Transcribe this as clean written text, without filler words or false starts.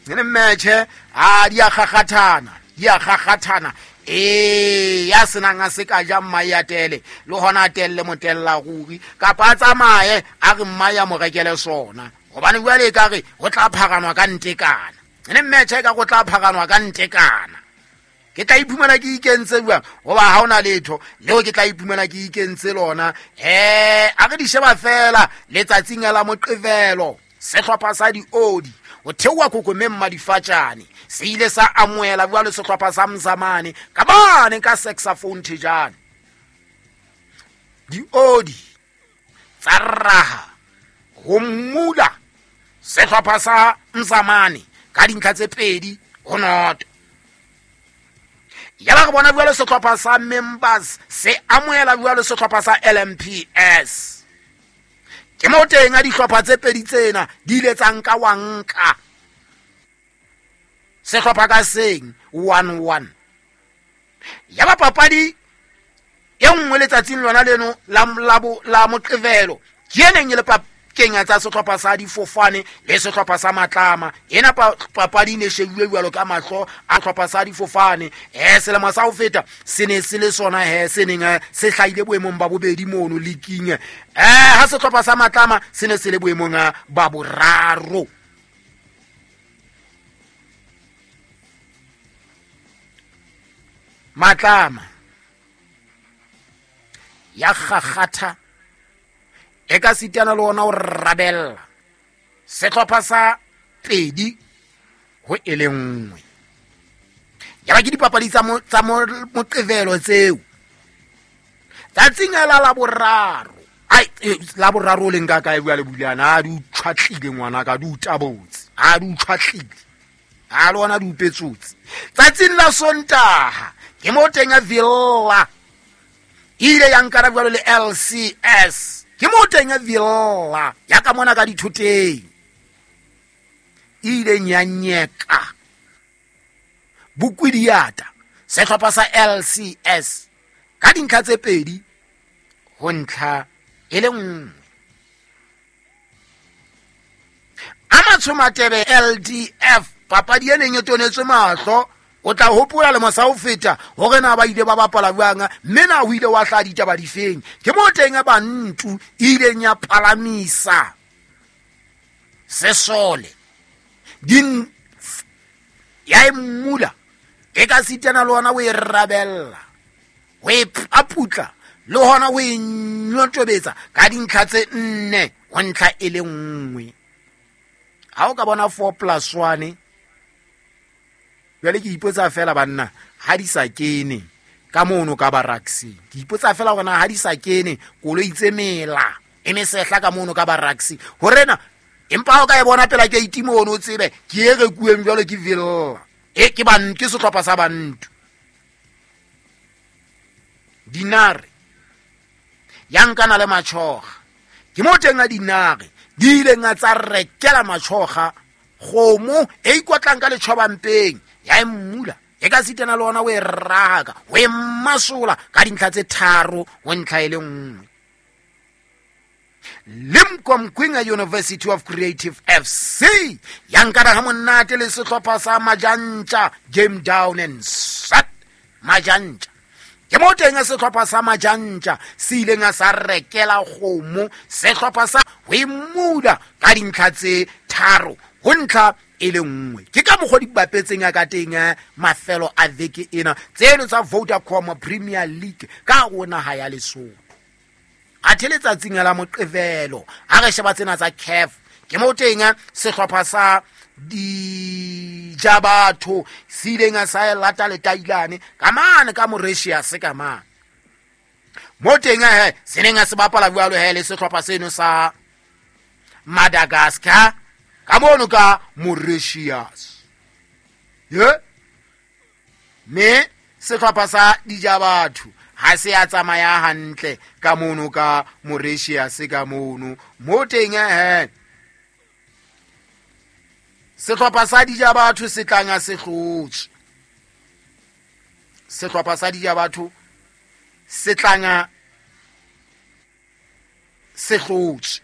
Ne mmetšhe a di a kgakgathana, di a kgakgathana. Ee, ya senang a se ka ja mmae a tele le gona a telele motella ruri, kapa a tsamaye a re mmae a mo rekele sona, gobane jale e ka re go tla phaganwa ka ntekana. Ne mmetšhe e ka go tla phaganwa ka ntekana. Ke tla iphumana ke ikentse jwang, goba ga o na letho leo ke tla iphumana ke ikentse lona. A re di sheba fela letsatsing la Moqebelo, sehlopha sa diodi go theoa kokomeng madifatšane se ile sa amoela jwalo sehlopha sa Mzamane ka bane ka saxophone thejane. Diodi tsa raha go mmula sehlopha sa Mzamane ka dintlha tse 2-0. Ya ba re bona jwalo sehlopha sa Members se amoela jwalo sehlopha sa LMPS. Ke mo teng a dihlopha tse pedi tsena di ile tsa nka wa nka sehlopha ka seng 1-1. Ya ba papadi e nngwe letsatsing lona leno la Moqebelo ke e neng e le kenya tsa sehlopha sa difofane le sehlopha sa Matlama. Ena papadi e ne shebuwe jwalo ka mahlo a sehlopha sa difofane. Selemo sa ho feta se ne se le sona he se neng se hlahile boemong ba bobedi mono leaking. Ha sehlopha sa Matlama se ne se le boemong ba boraro. Matlama ya kgakgatha e ka sitana le ona o rabella sehlopha sa 2-1. Ya ba ke dipapadi tsa Moqebelo tseo. Tsatsing la Laboraro, ai, Laboraro o leng ka kae bua le Bulana, a di utshwatlile ngwana ka, di utabotse, a di utshwatlile, a le ona di upetsotse. Tsatsing la Sontaha ke mo teng ya Villa e ile ya nkana jwalo le LCS. Ke mo teng ya Villa ya ka mona ka dithoteng e ileng ya nyeka Bokwidiata sehlopha sa LCS ka dintlha tse 2-1. A Matshomatebe LDF papadi e neng e tonetswe mahlo, o tla hopola le mosa ho feta hore na ba ile ba bapala jwang, mme na ho ile wa hlaha ditaba difeng. Ke mo teng ya Bantu e ileng ya palamisa sesole din ya e mmula e ka sitana le ona o e rabella, o e paputla le hona o e nyotobetsa ka dintlha tse 4-1. Ha o ka bona 4+1, jwale ke ipotsa fela banna ha di sa kene ka mono ka baraksing. Ke ipotsa fela hore na ha di sa kene koloi tse mela e mesehla ka mono ka baraksing hore na, empa ha o ka e bona pela ke itimo ono o tsebe ke e rekuweng jwalo ke Villa. E ke ban ke sehlopha sa Bantu. Dinare ya nkana le Matshoga. Ke mo teng a dinare di ileng a tsa rekela Matshoga kgomo e ikotlang ka letjhobampeng ya e mmula e ka sitana le ona o e raka, o e masola ka dintlha tse 3-1. Limkokwing University of Creative FC ya nkana ha monate le sehlopha sa Majantja, game down and set Majantja. Ke mo teng sehlopha sa Majantja se ileng a sa rekela kgomo sehlopha sa ho e mmula ka dintlha tse 3-1. Ke ka mokgwa di bapetseng ya ka teng mafelo a veke ena tseno tsa Vodacom Premier League ka ho naha ya Lesotho. Athe letsatsing la Moqebelo ha re sheba tsena tsa CAF, ke mo teng sehlopha sa Dijabatho se ileng a sa lata letailane ka mane ka Mauritius ka mane. Mo teng he se neng a se bapala jwalo he le sehlopha seno sa Madagascar ka mono ka Mauritius. Ye me sehlopha sa Dijabatho ha se a tsamaya hantle ka mono ka Mauritius ka mono. Mo teng he sehlopha sa Dijabatho se tlang a se hlotse. Sehlopha sa Dijabatho se tlang a se hlotse.